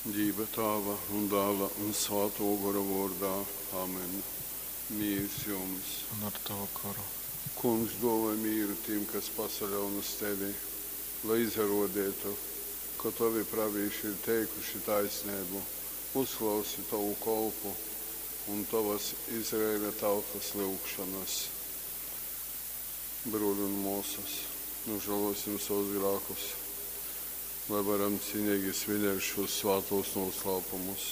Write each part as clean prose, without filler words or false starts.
Dīva Tāva un Dāla un Svātō Gora vōrdā. Amen. Mīrs jums! Un ar tovu goru. Kungs, dōvoj mīru tim, kas pasaļaun uz tevi, lai izarōdeitu, ka tovi pravīši ir teikuši taisneibu. Uzklausi tovu kolpu un tovas Izraeļa tautas lyugšonas. Brōli un mōsas, nūžālōsim sovus grākus, lai varam cīneigi svinēt šos svātūs nūslāpumus.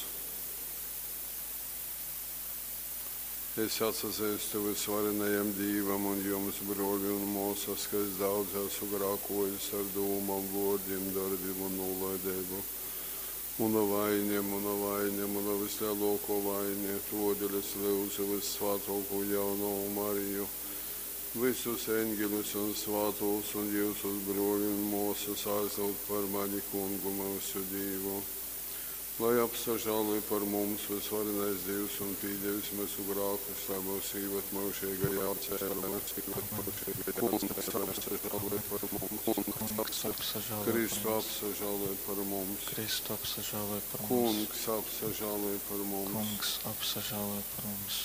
Es atsazeistu vysvarenajam Dīvam un jums, brōli un mōsas, ka es daudz esmu grākōjis ar dūmom, vōrdim, dorbim un nūlaideibu. Muna vaine, muna vaine, muna vyslelōkō vaine, tōdēļ es lyudzu vyssvātōkū jaunovu Mariju, vysus eņgeļus un svātūs un jyusus, brōli un mōsas, aizlyugt par mani Kungu myusu Dīvu. Lai apsažāloj par mums vysvarenais Dīvs un pīdevis myusu grākus, lai myus īvad myužeigajā Kungs, apsažāloj par mums. Kungs, apsažāloj par Kristu, mums. apsažāloj par mums. Kristu, apsažāloj par mums. Kungs, apsažāloj par mums. Kungs, apsažāloj par mums.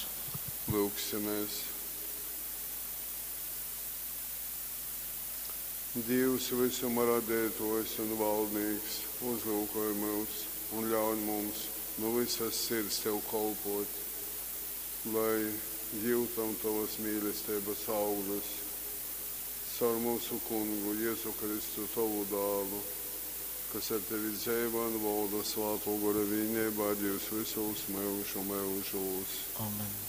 Lūgsimies. Dievs, visuma radētājs un valdnieks, uzlūkoj mūs un ļauj mums nu visas sirds tev kalpot, lai jūtam tavas mīlestības augļus. Caur mūsu kungu Jēzu Kristu, tavu dālu, kas ar tevi dzeivo un valda svāto gora vienībā, Dievs visos mūžu mūžos. Amen.